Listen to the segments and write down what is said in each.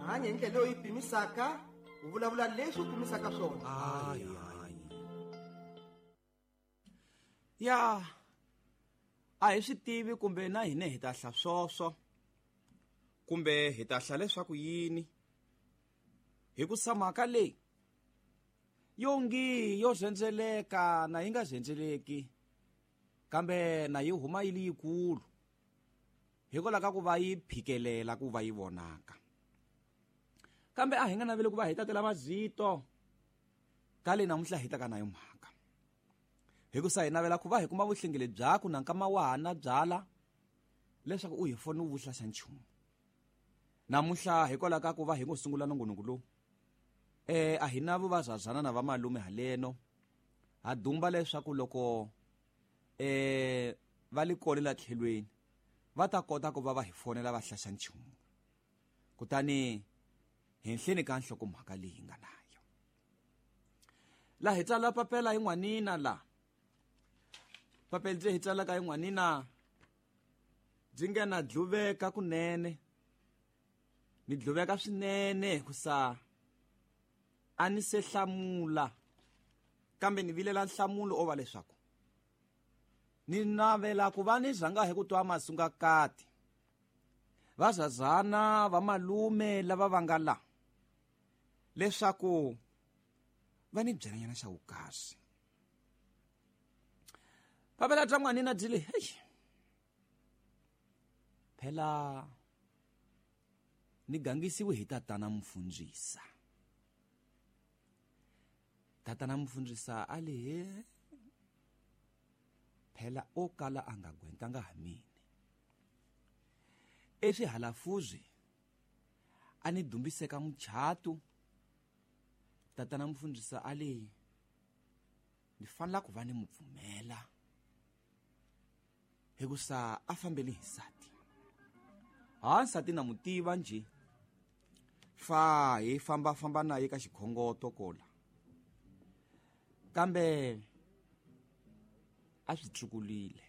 Hanya hi ndlela leyi u yi pimisaka, u vulavula leswi u pimisaka swona. Hayi, hayi. Ya, a hi swi tivi kumbe na hina hi ta hla swoswo kumbe hi ta hla leswaku yini, hikusa mhaka leyi yo ngi yo zhendzeleka na yi nga zhendzeleki, kambe na yi huma yi li yikulu hikwalaho ka ku va yi phikelela ku va yi vonaka. Kambe a hi nga naveli ku va hi tatela mazito ka leyi namuntlha hi taka na yo mhaka, hikusa hi navela ku va hi kuma vuhlengeli byaku na nkama wa ha na byala leswaku u hi foni u vuhla xa nchumu. Namuntlha hikwalaho ka ku va hi ngo sungula nongonoko lowu, a hi na vuvazazana na vamalume haleno, ha dumba leswaku loko va li kole la tlhelweni va ta kota ku va va hi fonela va hlaxa nchumu. Kutani henhleni ka nhlokomhaka leyi hi nga nayo la hi tsala papela hi n'wanina la papela byi hi tsalaka hi n'wanina byi nga na dluveka kunene, ni dluveka swinene hikusa a ni se hlamula, kambe ni vilela nhlamulo o va leswaku ni navela ku va ni rhanga hi ku twa masungakati vazazana va malume lava va nga la leswaku va ni byelanyana xa vukasi. Papela bya n'wanina byi le, hey, phela ni gangisiwe hi tatana mfundzisa. Tatana mfundzisa a le, he, phela o kala a nga gwentanga ha mina. Eswihalafuzi a ni dumbiseka muchato. Tatana mfundzisa a le, ni fanela ku va ni mupfumela hikusa a fambele hi nsati. Ha nsati na mutiva njhe, fa hi famba famba naye ka xikhongoto kola, kambe a swi tsukulile.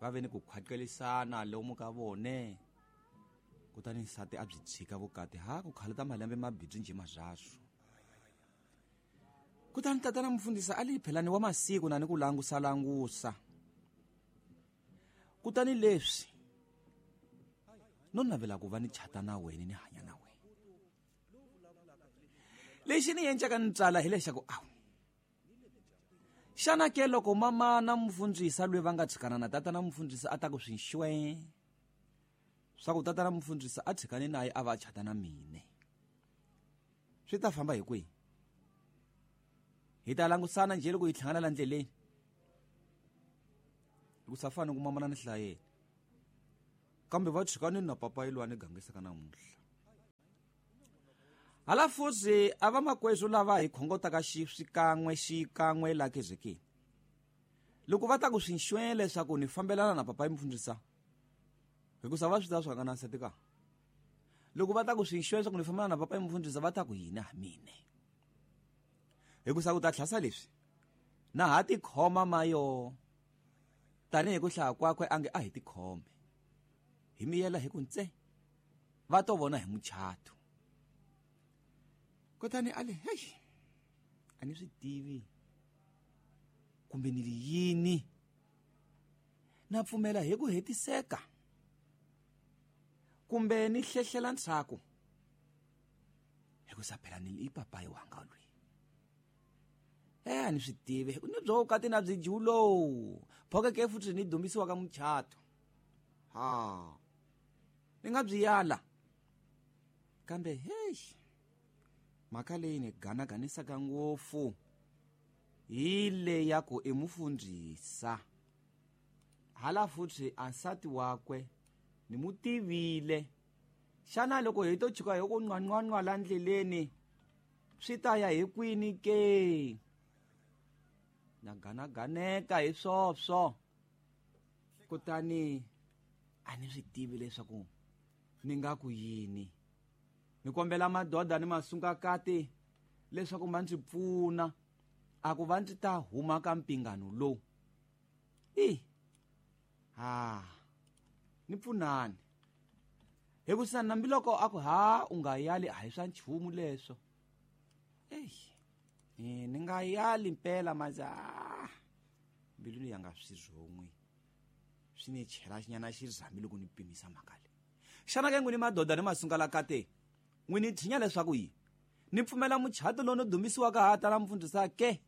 Va ve ni ku khwaqelisana lomu ka vone, kutani nsati a byi tshika vukati ha ku khaleta malembe mabindzu njhe mazaswo. Kutani tatana mfundhisi a li phelani wa masiku na ni ku langusa langusa. Kutani leswi no navela ku va ni chata na wena ni hanya na wena. Lexi ni endlaka ni tsala hi lexaku awu, xana ke loko mama na mfundhisi loyi va nga tshikana na tatana mfundhisi a ta ku swi nxwe swa ku tatana mfundhisi a tshikane naye a va a chata na mine, swi ta famba hi kwihi? Hi ta langusana njhe loko hi hlangana la ndleleni? Hikusa fana ku mamana ni hlayeni, kambe va tshikane na papa yilwa ni gangisaka namuntlha. Hala futhi a va makwezu lava hi khongotaka xikan'we xikan'we la kezekeni, loko va ta ku swi nxwe leswaku ni fambelana na papa mfundhisa, hikusa va swi tiva swa nga na nsati ka. Loko va ta ku swi nxwe leswaku ni fambelana na papa mfundhisa, va ta ku yini ha mine? Hikusa ku ta tlhasa leswi na ha tikhoma mayo, tanihi ku hlaya kwakwe a nge a hi tikhome, hi miyela hi ku ntse va to vona hi muchato. Kutani a le, hey, a ni swi tivi kumbe ni ri yini, na pfumela hi ku hetiseka kumbe ni hlehlela ntshaku, hikusa phela ni i papayi wanga loyi. A ni swi tivi ni byo vukati na byi julo phoke ke futhi ni dumbisiwa ka muchato, ha ni nga byi yala. Kambe hey, mhaka leyi ni ganaganisaka ngopfu hi le ya ku i mufundhisa. Hala futhi a nsati wakwe ni mu tivile. Xana loko hi to tshuka hi ku nqwanqwanqwa la ndleleni swi ta ya hi kwini ke? Na ganaganeka hi swoswo. Kutani a ni swi tivi leswaku ni nga ku yini. Ni kombela madoda ni masungakati leswaku ma ndzi pfuna a ku va ndzi ta huma ka mpingano lowu. I ha ni pfunani. Hikusa nambiloko a ku ha u nga yali a hi swa nchumu leswo. Eyi ni nga yali mpela maza mbilwini ya nga swi rhon'wi swi ni chela nyana xirhami loko ni pimisa mhaka leyi. Xana ke n'wini madoda ni masungala kate n'wini tshinya leswaku yi ni pfumela muchato lowu ni dumisiwaka ha tala mfundhisa ke?